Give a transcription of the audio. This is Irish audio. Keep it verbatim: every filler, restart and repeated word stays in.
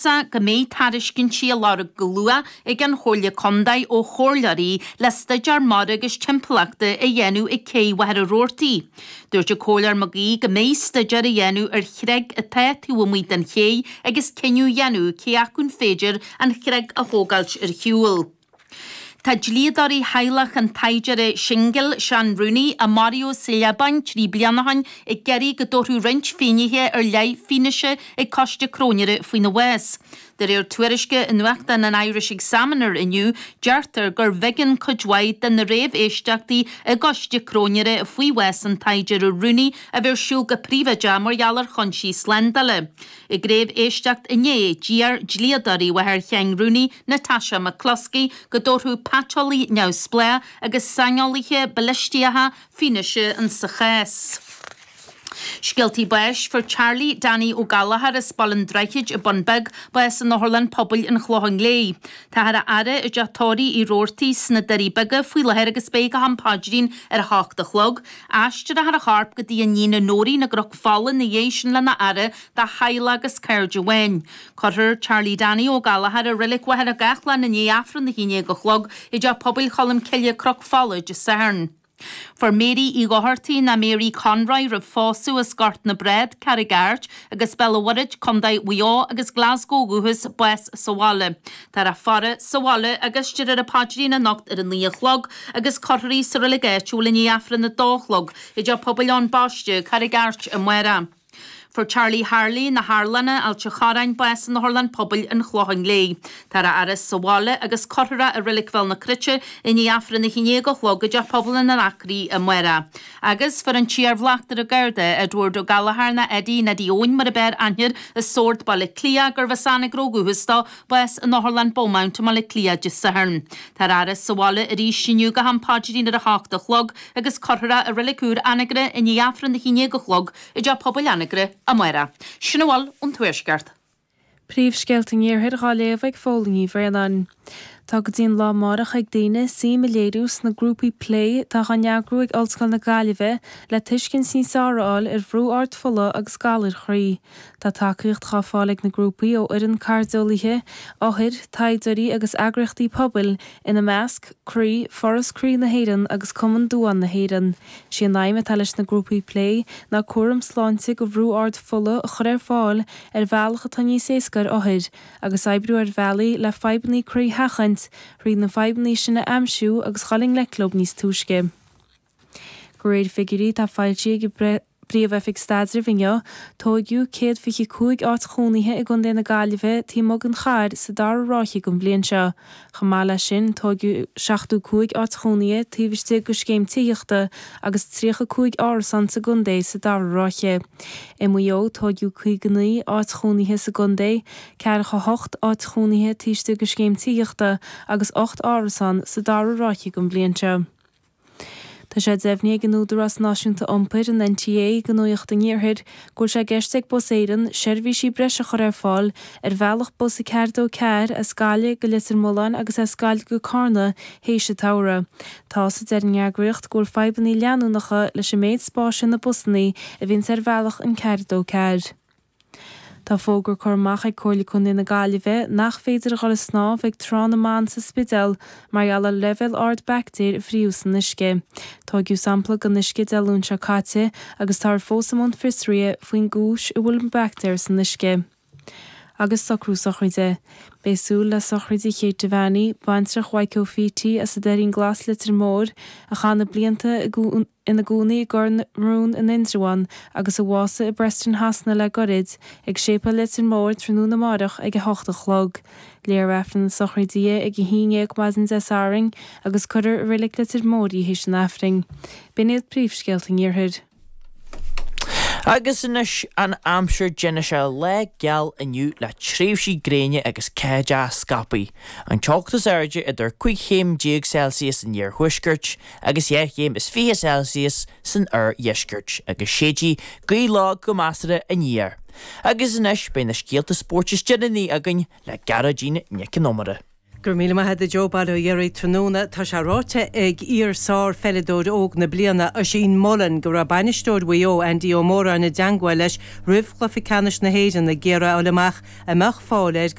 Go mbeidh tairiscintí á lorg go luath ag an Chomhairle Contae ó chomhairleoirí le staidéar mara agus timpeallachta a dhéanamh ag Cé Mhachaire Rabhartaigh. Dúirt an Comhairleoir Mag Aoidh go mbeidh staidéar a dhéanamh ar chreag atá taobh amuigh den ché agus cinneadh a dhéanamh cé acu an féidir an chreag a thógáilt ar shiúl. Tá dlíodóirí theaghlach an tsaighdiúra singil Seán Rooney, a maraíodh sa Liobáin trí bliana ó shin, ag iarraidh go dtabharfadh roinnt finnéithe ar leith fianaise ag coiste cróinéara faoina bhás. De réir tuairisce i nuachtán an Irish Examiner inniu, deirtear gur b'éigean cuid mhaith de na réamhéisteachtaí i gcoiste cróinéara faoi bhás an tsaighdiúra Rooney a bheith ar siúl go príobháideach mar gheall ar chúinsí slándála. Ag réamhéisteacht inné, d'iarr dlíodóirí mháthair Sheáin Rooney, Natasha McCloskey, go dtabharfadh paiteolaí neamhspleách agus saineolaithe balaisteacha fianaise insa chás. Scéaltaí báis fuair Charlie Danny Ó Gallchóir as Baile an Droichid i Bun Beag bás in Otharlann Pobail an Chlocháin Léith. Táthar á fhaire i dteach tórraimh Uí Rabhartaigh sna Doirí Beaga faoi láthair agus beidh go ham paidrín ar a hocht a chlog. Aistreofar a chorp go dtí a níon Nóirín i gCnoc Fola ina dhiaidh sin lena fhaire dá theaghlach agus cairde amháin. Cuirfear Charlie Danny Ó Gallchóir i Reilig Mhachaire Gathlán i ndiaidh Aifreann a haon déag a chlog i dteach pobail Cholm Cille Cnoc Fola Dé Sathairn. Fuair Mary Uí Dhochartaigh ná Mary Conroy roimh phósadh as Gort na Brád, Carraig Airt agus Béal an Mhuirthead, Contae Mhaigh Eo agus Glasgow ó dhúchas, bás sa bhaile. Táthar á faire sa bhaile agus déarfar an paidrín anocht ar a naoi a chlog agus cuirfear í sa reilig áitiúil i ndiaidh Aifreann a dó a chlog i dteach pobail Eoin Baiste, Carraig Airt amárach. Fuair Charlie Harley, na hArlanna, Ailt an Chorráin, bás in Otharlann Pobail an Chlocháin Léith. Táthar á fhaire sa bhaile agus cuirfear é i Reilig Bhéal na Cruite i ndiaidh Aifreann a haon déag a chlog i dTeach Pobail an Anacraí amárach. Agus fuair an t-iar-bhleachtaire Garda, Edward Ó Gallchóir ná Eddie Neddie Eoin mar ab fhearr aithne air as Sord, Baile Átha Cliath, gurbh as Anagaire ó dhúchas dó, bás in Otharlann Beaumont i mBaile Átha Cliath Dé Sathairn. Táthar á fhaire sa bhaile arís inniu go ham paidrín ar a hocht a chlog agus cuirfear é i Reilig Úr Anagaire i ndiaidh Aifreann a haon déag a chlog i dTeach Pobail Anagaire amárach. Sin a bhfuil ón Tuaisceart. Príomhscéalta an Iarthair dhá léamh ag Fódhla Ní Bhraonáin. Tá go dtí an lá amárach ag daoine suim a léiriú sna grúpaí plé atá á n-eagrú ag Ollscoil na Gaillimhe le tuiscint níos fearr a fháil ar bhrú ard fola agus galair chroí. Tá tacaíocht dhá fáil ag na grúpaí ó fhoireann cairdeolaithe, othair, taighdeoirí agus eagraíochtaí pobail, ina measc, Croí, Foras Croí na hÉireann agus Cumann Duán na hÉireann. Sí an aidhm atá leis na grúpaí plé ná cúram sláinte go bhrú ard fola a chur ar fáil ar bhealach atá níos éasca ar othair, agus oibriú ar bhealaí le fadhbanna croí a sheachaint, thrí na fadhbanna sin a aimsiú agus dhul i ngleic leo níos túisce. De réir figiúirí atá foilsithe ag an bPríomh-Oifig Staidrimh inniu, tóigeadh céad fiche cúig áit chónaithe i gContae na Gaillimhe taobh amuigh den chathair sa dara ráithe den bhliain seo. Chomh maith leis sin, tóigeadh seachtó cúig áit chónaithe taobh istigh de scéim tithíochta agus tríocha cúig árasán sa gcontae sa dara ráithe. I Maigh Eo, tóigeadh caoga naoi áit chónaithe sa gcontae, ceathracha hocht áit chónaithe taobh istigh de scéim tithíochta agus ocht árasán sa dara ráithe den bhliain seo. Tá sé deimhnithe ag an Údarás Náisiúnta Iompair, an NTA, do Nuacht an Iarthair go bhfuil sé i gceist ag Bus Éireann seirbhísí breise a chur ar fáil ar bhealach bus a ceathair dó ceathair as Gaillimh go Leitir Mealláin agus as Gaillimh go Carna théis an tsamhraidh. Tá a deir an eagraíocht go bhfuil fadhbanna leanúnacha leis an méid spáis ar na busanna a bhíonns ar bhealach an ceathair dó ceathair. Tá fógra curtha amach ag Comhairle Contae na Gaillimhe nach féidir a dhul ag snámh ag Trá na mBan sa Spidéal mar gheall ar leibhéal ard baictéir a fríothadh san uisce. Tóigeadh sampla den uisce Dé Luain seo caite agus táthar fós i mbun fiosraithe faoin gcúis a bhfuil an baictéar san uisce. Agus socrú sochraide. Beidh súil le sochraide Kate Devaney, baintreach Mhaidhc Ó Fíti as an Doirín Glas Leitir Móir, a chaith na blianta i ina gcónaí i gCor na Rón in Indreabhán agus a bhásaigh i bPreston Shasana le goirid, ag Séipéal Leitir Móir tráthnóna amárach ag a hocht a chlog. Léifear Aifreann na sochraide di ag a haon déag maidin Dé Sathairn agus cuirfear i Reilig Leitir Móir í théis an Aifrinn. B'in iad príomhscéalta an Iarthair. Agus anois an aimsir déanfaidh sé lá geal inniu le tréimhsí gréine agus ceathaideach scaipthe. An teocht is airde idir cúig chéim déag Celsius san iarthuaisceart agus dhá chéim is fiche Celsius san oirdheisceart, agus séidfidh gaoth lag go measartha aniar. Agus anois beidh na scéalta spóirt is deireanaí againn le Gearóidín Nic an Iomaire. Go raibh míle maith agat a Joe, bail ó Dhia oraibh tráthnóna. Tá sé ráite ag iar-sár-pheileadóir óg na bliana, Oisín Mullin, go raibh bainisteoir Mhaigh Eo, Andy Ó Móráin i dteangmháil leis roimh chluiche ceannais na hÉireann ag iarraidh a fháil amach an mbeadh fáil air